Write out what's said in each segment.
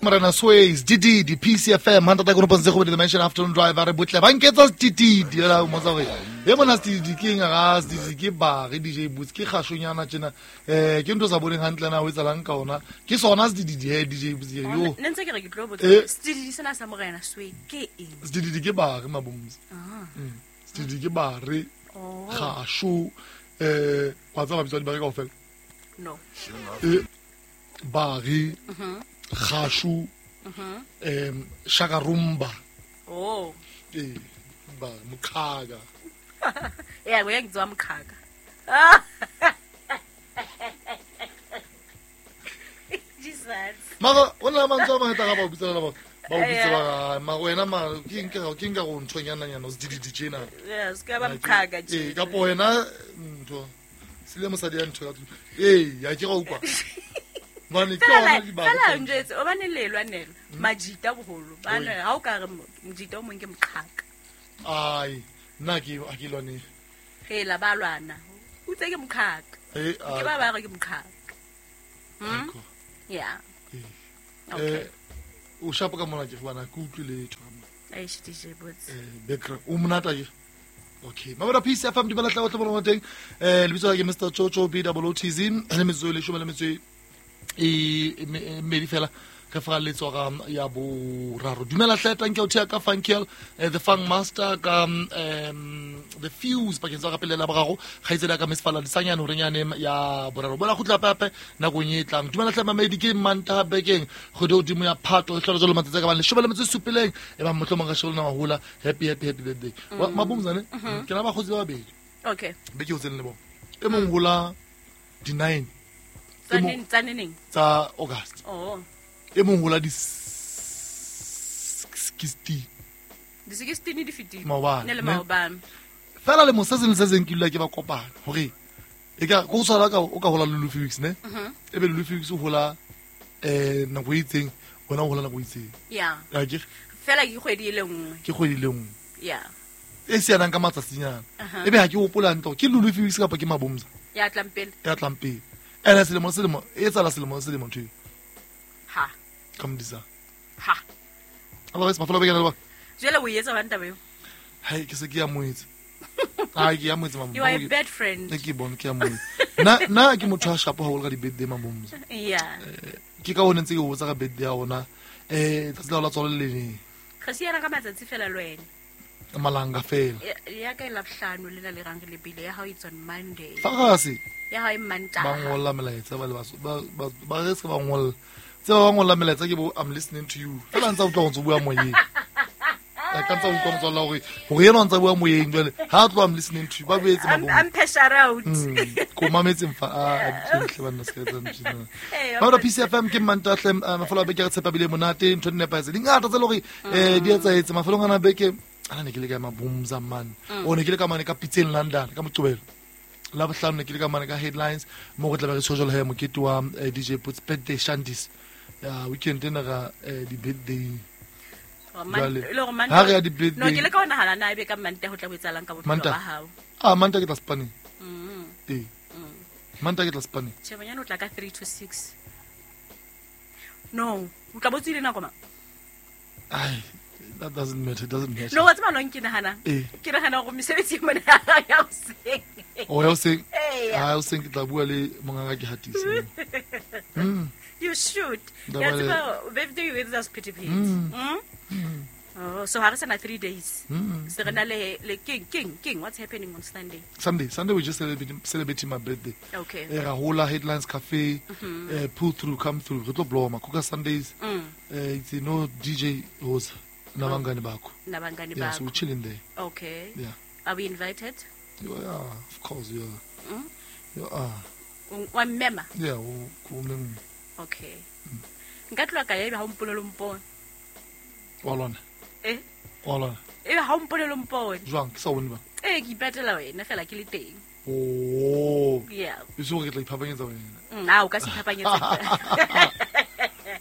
Morena Sways DD PCFM hantata kono pontse go dimension afternoon drive re botle ba nketsa DD ela mo tsa gore e mona DD ke eng ga DD ke ba re DJ Boots ke gashonyana tjena ke ntho sa boneng hantle na o etsalang ka ona ke sona DD he DJ Boots yo ne ntse ke re ke tlo botsa DD sena sa Morena Sway ke eng? DD ke ba re mabomzi. DD ke ba re gasho wa tsaba bitswa di ba re kaofela. No. Bari gashu shakarumba. Oh. Ba mukhaga. Yeah, we ngizwa mukhaga. Jesus. Mara ona mantswe a mangata ga ba o bitsa ba o bitsa ba ma wena ma ke nka go nthonyana nyana o se tjena. Yes, ka ba mukhaga tje. Ka po wena ntho sile mosadi ya ntho ka ya ke go utlwa. Mane ke ona di ba. Fela njetse o bane lelwa nelo majita boholo ba ne ha o ka re mojita o mong ke moqhaka. Ai nna ke a ke lwane. Hela ba lwana. O tse ke moqhaka. Ke ba ba re ke moqhaka. Yeah. Okay. O shapo ka mona ke bana ke utlwe letho. Ai shi DJ Boots. Bekra o monata ke. Okay. Mabara Peace FM di bala tla tla bona teng. Lebitso la ke Mr Chocho B O O T Z le metso le shome le metso e mmedi fela re fa letswa ga ya boraro. Dumela hle tanke o thea ka Funkiel the Funk Master ka the Fuse pakeng tsa ka pele la boraro kgaitsedi ka Miss Fala disanyane hore nyane ya boraro bona khutla pape nakong e tlang. Dumela hle mamedi ke Manta bekeng kgwedi hodimo ya Phato e hlola jalo matsatsi ka bang leshome le metso e supileng e ba mohlomong ka shebelana mahola. Happy happy happy birthday. Mabumzane ke na bakgotsi ba babedi. Okay. Beke o tsene le bona e mong hola di 9 tsa tsa August. Oh. E mong hola di 16. Di 16 di fitile. Maobane. Ne le maobane. Fela le mo se seng se seng ke dula ke ba kopana hore e ka go tshwara ka o ka hola le Felix ne. E be le Felix o hola nako e itseng wena o hola nako e itseng. Yeah. Akere. Fela ke kgwedi e le nngwe. Ke kgwedi le nngwe. Yeah. E sianang ka matsatsinyana. E be ha ke hopola ntlo ke Lulu Felix kapa ke Mabomza. Ya tlang pele. Ya tlang pele. Ena selemo selemo e tsala selemo selemo ntho. Ha. Come disa. Ha. Otherwise mafelo bekana le ba. Jwale o etsa banta beo. Hai ke se ke ya moetse. Ai ke ya moetse mama. You are a bad friend. Ne ke bona ke ya moetse. Na ke motho a shapo haholo ka di birthday Mabomza. Yeah. Ke ka hone ntse ke botsa ka birthday ya ona. Tsatsi la tswalo le leng. Re siana ka matsatsi fela le wena. Malanga fela. Ya ka la bohlano le la le rang le bile ya hao it's on Monday. Fa ga se. Ya hao e Mantaha. Ba ngolla melaetsa ba le ba re se ba ngolla. Tse ba ngolla melaetsa ke bo I'm listening to you. Fela ntse o tlo go bua moyeng. Ka ntse o utlwa motswalla hore yena o ntse bua moyeng jwale ha tlo I'm listening to you ba boetse mabong. I'm pressure out. Ko mametseng fa a tle banna se ka etsa ntho. Ba PCFM ke Mantaha mafelo a beke re tshepa bile monate ntho di nepahetse. Di ngata tse le hore di etsaetse mafelong ana beke ana ne ke le ka Mabomza man. O ne ke le ka mane ka Pitseng London ka Moqebelo. La bohlano ne ke le ka mane ka Headlines mo go tla ba re tshojolo he mokete wa DJ Boots birthday shanties. Ya weekend ena ga di birthday. Ha re ya di birthday. No ke le ka ona hala na ebe ka Manta ho tla boetsalang ka bophelo ba hao. Ah Manta ke tla Spain. Manta ke tla Spain. Che bonyane o tla ka 3 to 6. No, o tla botsile nako ma. Ai that doesn't matter, it doesn't matter. No, what's my long ke nahana? Ke nahana hore mesebetsi e mona ya o seng. Oh, ya o seng. Ah, o seng ke tla bua le mongaka ke hatise. You should. Ya tseba birthday with us pity pity. Oh, so ha re sana 3 days. Se re na le king what's happening on Sunday? Sunday we just celebrating my birthday. Okay. Ra hola Headlines Cafe, pull through, come through. Re tlo blow makuka Sundays. It's no DJ host. Nabangani bakho. Nabangani bakho. Yeah, so we're chilling there. Okay. Yeah. Are we invited? Yeah, of course, yeah. Yeah. Wa mema? Yeah, o mema. Okay. Nka tloha ka ya ebe ha o mpolele mpone. Wa lona? Eh? Wa lona? Ebe ha o mpolele mpone. Jwang ke sa bone ba? Eh, ke ipatela wena fela ke le teng. Oh. Yeah. E so re tla iphapanyetsa wena. Ah, o ka se iphapanyetsa.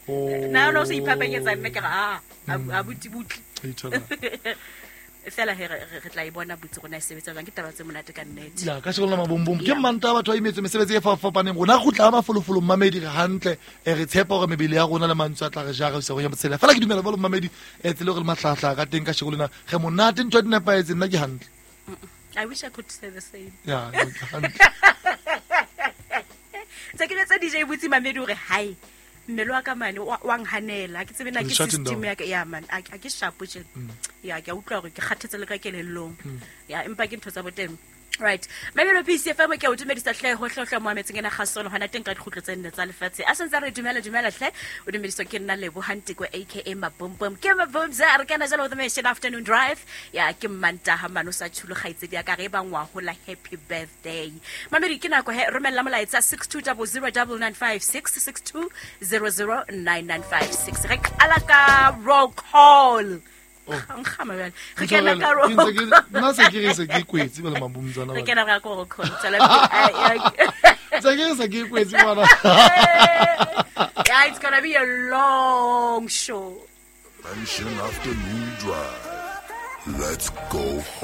Oh. Na no se iphapanyetsa mme ke re a butibutli. Fela he re tla e bona botse rona e sebetsa jwang, ke taba tse monate ka nnete. Ya ka sheko lona mabombom ke manta batho ba imetswe mesebetsi e fapafapaneng. Rona kgutla mafolofolo mmamedi re hantle, re tshepa hore mebele ya rona le mantswe a tla re jara ho isa go ya motshela. Fela ke dumela jwalo mmamedi, tsela eo re le mahlahahlaha ka teng ka sheko lena, re monate, ntho di nepahetse, nna ke hantle. I wish I could say the same. Ya, ke hantle. Tse ke jwetsa DJ Botsi mamedi hore hai mmele wa ka mane wa nhanela, ha ke tsebe na ke Shutting system down. ya ka ya man, a ke sharp tjena. Ya ke a utlwa hore ke kgathetse le ka kelellong. Ya empa ke ntho tsa boteng. Right. Mamelo Peace FM ke o dumedisa hle ho hlohla mo ametseng ena kgasono hona teng ka dikgutlo tse nne tsa lefatshe. A sentse re dumela dumela hle o dumediswa ke nna Lebo Hantiko aka Mabombom. Ke Mabombs a re kana jalo the Mission Afternoon Drive. Ya ke Mantaha mano sa tshulo kgaitsedi ya ka re ba ngwa hola happy birthday. Mamedi ke nako he romella molaetsa 62009956 62009956. Re qala ka roll call. Nkgama bjale. Re kena ka roll call. Nna se ke re se ke kwetse ba le mabombtsana Re ba. kena ka roll call. Tswela pele. Ai, ai. Se ke re se ke kwetse ngwana. Yeah, it's gonna be a long show. Mansion Afternoon Drive. Let's go home.